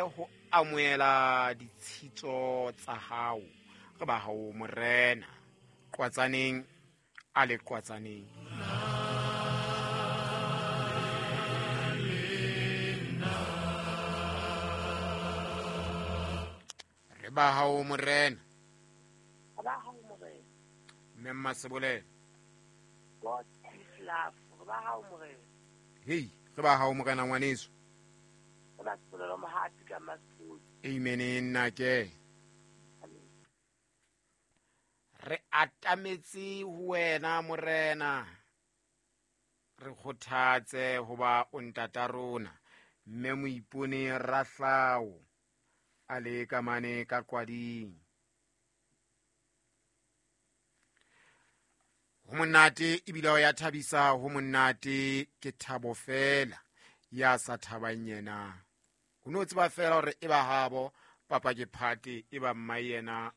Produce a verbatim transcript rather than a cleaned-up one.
Ho amohela ditshitso tsa hao. Re ba hao Morena. Qwatsaneng a le qwatsaneng. Re ba hao Morena. Re ba hao Morena. Mme Mmasebolelo. God is love. Re ba hao Morena. Hei, re ba hao Morena ngwaneso. Re ba Sebolelo Mohapi ka Maspoli. Amen nna ke. Re atametse ho wena Morena. Re kgothatse hoba o ntata rona. Mme Moipone Rahlao a le ka mane ka Qwading. Ho monate ebile ho ya thabisa, ho monate ke thabo fela ya sa thabang yena. O no tseba fela hore e ba habo papa ke phate e ba mma yena.